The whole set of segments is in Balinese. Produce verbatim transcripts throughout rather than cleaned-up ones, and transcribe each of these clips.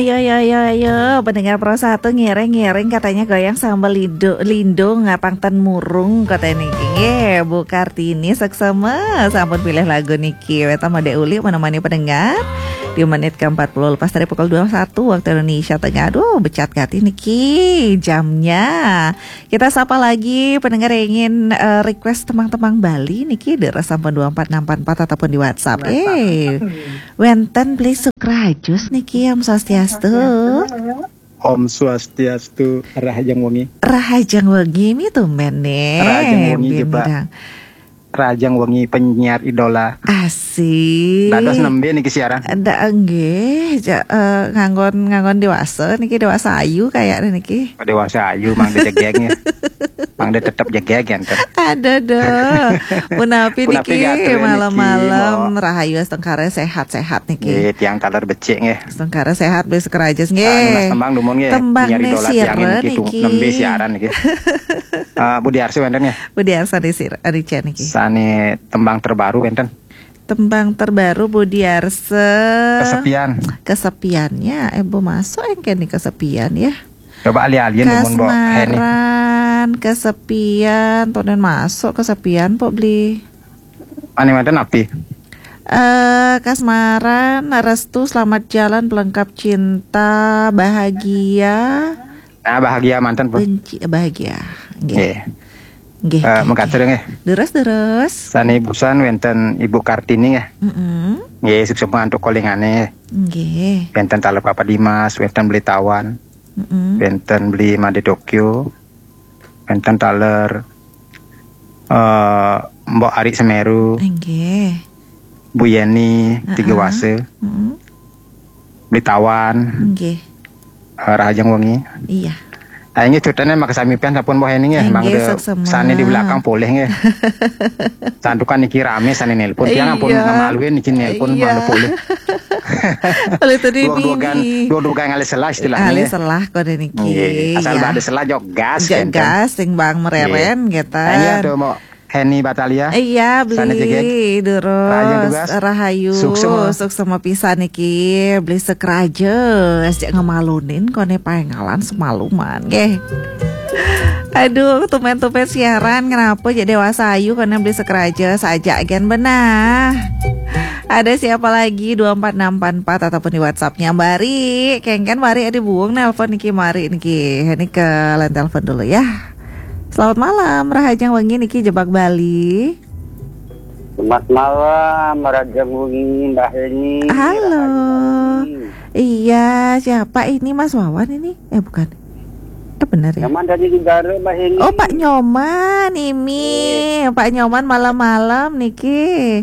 Ayo, ayo, ayo, ayo, pendengar Pro Satu ngiring-ngiring katanya goyang sambil lidu, lindung ngapang ten murung kata niki. Nggih, Bu Kartini seksama sampun pilih lagu niki. Weta Made Uli menemani pendengar di menit ke empat puluh lepas dari pukul dua puluh satu waktu Indonesia Tengah. Aduh, becat gati niki jamnya. Kita sapa lagi pendengar yang ingin eh, request temang-temang Bali niki, daerah sampun dua empat enam empat empat ataupun di WhatsApp. Eh, wenten beli Sukrajus niki, Om Swastiastu. Om Swastiastu, Rahajeng Wengi. Rahajeng Wengi mi tumben nih. Rahajeng Wengi, Bim Pak. Mirang. Rahajeng Wengi penyiar idola. Asik. Dados nembe niki siaran? Ndak, nggih, ja, eh, nganggon nganggon dewasa niki, dewasa ayu kayak niki. Dewasa ayu mang dejegeng ya. Mang de tetep jegeg ya, enten. Ada dong. Punapi niki malam-malam rahayu, astungkara sehat-sehat niki. Nggih, tiang taler becik nggih. Astungkara sehat, beli Sukrajus nggih. Anu, Mas, tembang dumun nggih. Tembang penyiar idola tiang niki, niki nembe siaran niki. Eh, Budi Arsi wenten nggih. Budi Arsi di sir, di Cian niki. Sane tembang terbaru wenten. Tembang terbaru Budi Arsi. Kesepian. Kesepiannya, eh, Bu masuk engke nih kesepian ya. Coba ali-alian dumun, Mbok Heni. Kasmaran, kesepian, tonden masuk kesepian, Pok beli. Ane wenten api? Eh, kasmaran, restu, selamat jalan, pelengkap cinta, bahagia. Nah, bahagia manten, Bu. Benci, eh, bahagia. Nggih. Nggih. Nggih, eh, nggih, mekaten nggih. Deres, deres. Sane ibusan wenten Ibu Kartini nggih. Mm-mm. Nggih, suksma antuk kolingane. Nggih. Wenten taler Papa Dimas, wenten beli Tawan. Mm-mm. Wenten beli Made Tokyo. Wenten taler eh, Mbok Ari Semeru. Nggih. Bu Yeni, Tiga Wase. Mm-mm. Beli Tawan. Nggih. Eh, Rahajeng Wengi. Iya. Ayo nggih, cutene makasami pian sampun Mbok Heni nggih. Nggih, mangke suksma. Sane di belakang polih nggih. Santukan niki rame sane nelpon. Tiang ampun ngemaluin niki nelpon mangke polih. Kalau itu di dua-dua mimi. Dua-dua ngalih selah istilahnya. Ngalih selah kok niki. Nggih. Asal ada selah jok gas. Jok kan, kan? Gas, sing bang mereren gitu. Iya tuh mau Heni Batalia. Iya, beli durus. Rahayu tugas. Rahayu. Suksma. Suksma pisan niki, beli Sukrajus aja ngemalunin kone pengalan semaluman, nggih. Aduh, tumben-tumben siaran, kenapa jadi dewasa ayu kone beli Sukrajus aja gen benah. Ada siapa lagi? Dua empat enam empat empat ataupun di WhatsApp-nya Mbak Ri. Kengken Mbak Ri ada buung nelpon niki, Mbak Ri niki. Ini ke line telepon dulu ya. Selamat malam, Rahajeng Wengi niki Jebak Bali. Selamat malam, Rahajeng Wengi, Mbak Heni. Halo. Rahajeng Wengi. Iya, siapa ini, Mas Wawan ini? Eh, bukan. Eh, benar ya? Nyoman dari negara, Mbak Heni. Oh, Pak Nyoman, Imi. Iya. Pak Nyoman malam-malam niki.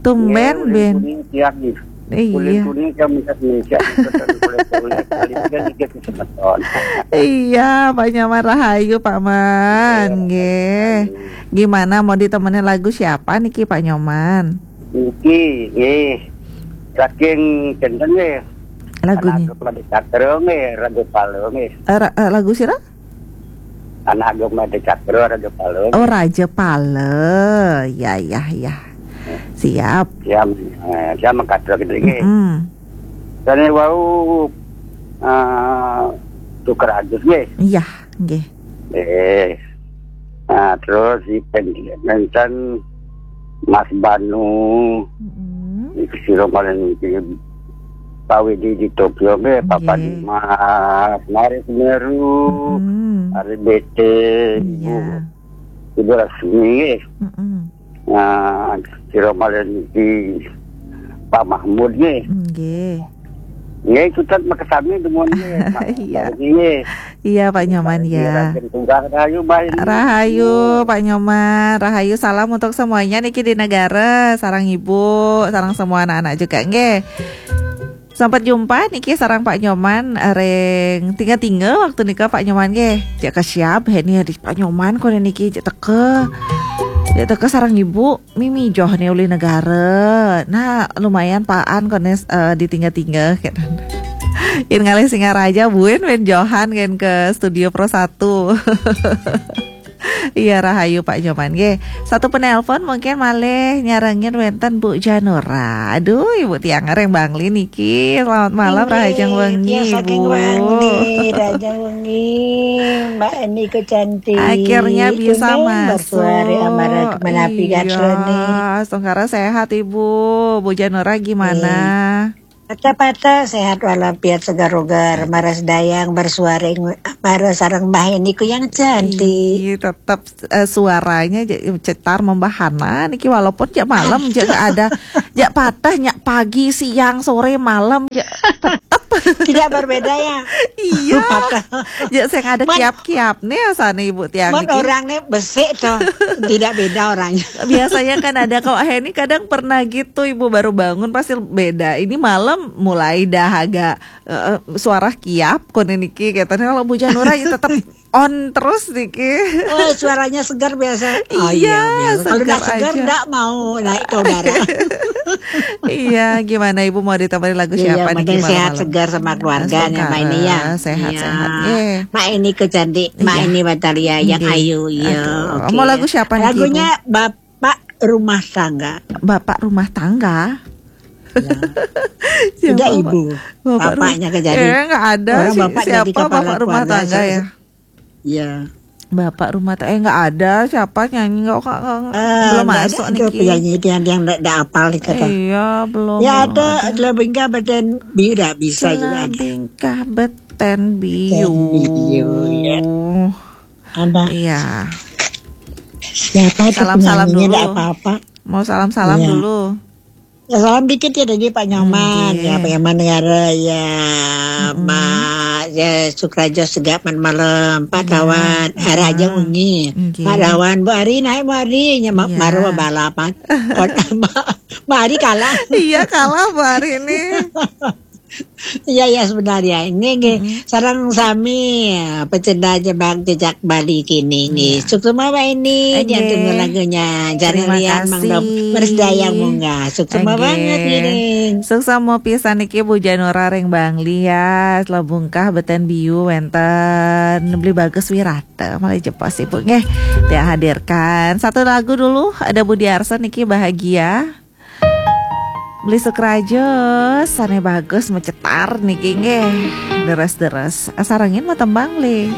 Tumben, iya, ben. Kuning tiap nih. Iya. Kulit kuning kan mencak-mencak, gitu kan, kulit kulit, kulit kan dikit kesemeton. Iya, Pak Nyoman rahayu, Pak Man. Iya, nggih. Rahayu. Gimana, mau ditemenin lagu siapa niki, Pak Nyoman? Niki, nggih. Saking kenten nggih. Lagunya? Anak Ageng Made Cakra nggih, Raja Palo nggih. Eh, ra-, eh, lagu sira? Anak Ageng Made Cakra, Raja Palo. Oh, Raja Palo. Ya, ya, ya. Siap. Siap, eh, siap mengkatur gitu nggih. Mm-mm. Dene wau, eh, Sukrajus nggih. Iya, nggih. Eh. Nah, terus si pen-, nenten Mas Banu. Mm-mm. Iki sira paling iki Pak Widi di Tokyo nggih, Papa Dimas, Mari Semeru, mm-mm. Ari B T, Ibu, iya. Ibu Rasmi nggih. Mm-mm. Nah, sira malih niki Pak Mahmud nggih. Nggih. Nggih, ikutan makasami dumun nggih. Iya. Nggih. Iya, Pak Nyoman ya. Rahayu, Mbak Heni. Rahayu, Pak Nyoman. Rahayu, salam untuk semuanya niki di negara, sarang ibu, sarang semua anak-anak juga nggih. Sampai jumpa niki sarang Pak Nyoman, eh, ring tinggal-tinggal waktu nika Pak Nyoman nggih. Cek ke siap, Heni, adik Pak Nyoman kone niki cek teke. Cek teke sarang ibu, mimi joh nih ulih negara. Nah, lumayan paan kone, eh, ditinggal-tinggal gitu. Yen ngalih Singaraja buin wen johan kan ke Studio Pro Satu. Iya, rahayu Pak Nyoman nggih. Satu penelpon mungkin malih nyarengin wenten Bu Janura. Aduh, Ibu tiang Reng Bangli niki. Selamat malam, rahajeng wengi, Ibu. Saking wengi, rahajeng wengi. Mbak Eni ku cantik. Akhirnya bisa masuk. Bersuara amara menapi. Iya, gatrone. Astungkara sehat, Ibu. Bu Janura gimana? Patah-patah sehat walafiat segar-ugar, maras dayang bersuara ing-, maras sareng Mbah Eni ku yang cantik. Iya, tetap eh, suaranya je- cetar membahana niki walaupun jak malam jak nggak ada jak patah nyak pagi siang sore malam jak tetap. Tidak berbeda ya. Iya. Patah. Jak saya ada kiap-kiap nih sana Ibu tiang niki. Orang nih besik tuh. Tidak beda orangnya. Biasanya kan ada kalau Heni kadang pernah gitu Ibu baru bangun pasti beda. Ini malam mulai dah agak eh, suara kiap kono niki katanya kalau Bu Janura ya tetap on terus niki. Oh, suaranya segar biasa. Oh, iya, iya, biasa. Kalau nggak segar, aja nggak mau naik ke udara. Iya, gimana Ibu mau ditambahin lagu siapa nih? Iya, sehat malam? Segar sama keluarganya, Mbak Eni ya. Sehat, iya. Sehat. Iya. Mbak Eni ku cantik, Mbak Eni Batalia yang ayu, iya. Oke. Mau lagu siapa nih? Lagunya Bapak Rumah Tangga. Bapak Rumah Tangga. Ya. Tidak ibu. Bapaknya kejadian. Eh, nggak ada. Orang sih, bapak siapa jadi kepala bapak rumah tangga ya? Iya. Bapak rumah tangga eh nggak ada siapa nyanyi nggak kak eh, belum masuk nih penyanyi itu yang yang nggak apal gitu. Iya belum. Ya ada Celabingka Beten Biu nggak bisa juga. Celabingka Beten Biu. Beten Biu ya. Ada. Iya. Siapa itu salam salam dulu. Apa-apa. Mau salam salam iya. Dulu. Ya, salam dikit ya dari Pak Nyoman, ya Pak Nyoman Negara, ya Mak ya Sukrajo Segak Man Malam, Pak Tawan, Raja Ungi, Pak Tawan, Bu Ari naik Bu Ari, ya Mak Marwa balapan, Mak Ari kalah. Iya kalah Bu Ari ini. Iya ya sebenarnya ini nggih sarang sami ya, pecinta jebak jejak Bali kini nggih. Suksma Mbak Eni diantun lagunya. Jangan lihat Mang Dom. Terima kasih. Bersdaya munggah. Suksma banget ngiring. Suksma pisan niki Bu Janura ring Bangli ya. Selebungkah Beten Biu wenten Beli Bagus Wirata. Malah jepos Ibu nggih. Dia hadirkan satu lagu dulu ada Budi Arsa niki Bahagia. Beli Sukrajo, sane bagus mecetar niki nggih. Deres-deres. Asarengin mau tembang, Beli.